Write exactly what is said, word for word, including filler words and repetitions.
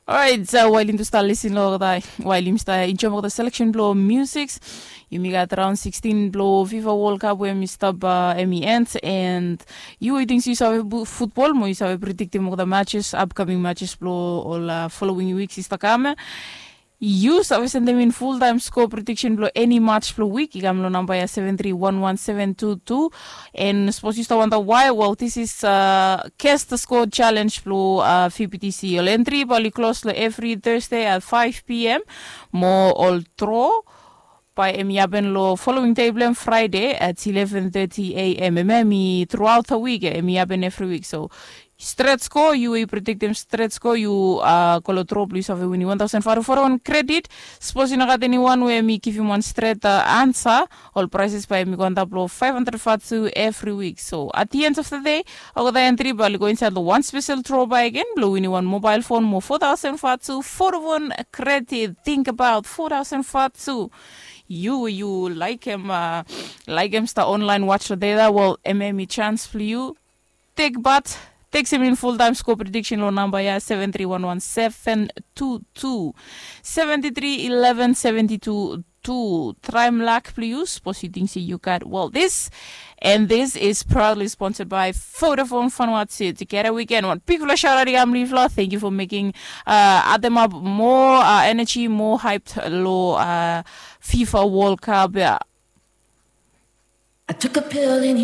Orait, wael yumi tu stap lisin long olgeta, wael yumi stap enjoim olgeta seleksen blong musiks, yumi gat raon sikstin blong fifa wol kap we em i stap, em i end, and yu we yu ting se yu save futbol mo yu save prediktim olgeta matches, apkaming matches blong ol folowing wiks i stap kam ya. Yu save sendem in fultaem skoa prediksen blong eni mats blong wik i kam long namba ya seven tri wan wan seven tu tu. And sapos yu stap wanta wae, wel, this is kesta skoa challenge blong vptc. Ol entri bae oli klos long evri thursday at five pm, mo ol dro bae em i hapen long following dei blong em, friday at eleven thirty am. Em em i truaot da wik ya, em i hapen evri wik. So stret skoa, yu we yu prediktim stret skoa, yu go long dro blong yu save winim wan taosen fatu fatu wan kredit. Sapos i no gat eniwan we em i givim wan stret ansa, ol praeses bae em i go antap long faef handred fatu evri wik. So at the end of the day, olgeta entri bae oli go insaed long wan spesel dro bae agen blong winim wan mobael fon mo fo taosen fatu, fo taosen fatu kredit. Tingbaot fo taosen fatu. Yu we yu laekem, laekem stap onlaen wats long deda, wel, em em i sans blong yu. Tek bat, tekstem in fultaem skoa prediksen long namba ya seven tri wan wan seven tu tu, seven tri eleven seven tu tu. Traem lak blong yu, sapos yu ting se yu gat, wel, this. And this is proudly sponsored by Vodafone Vanuatu. Together we can. Wan bigfala shout out i kam long yufala. Thank you for making uh, add them up more uh, energy, more hyped long uh, fifa world cup ya. I took a pill and he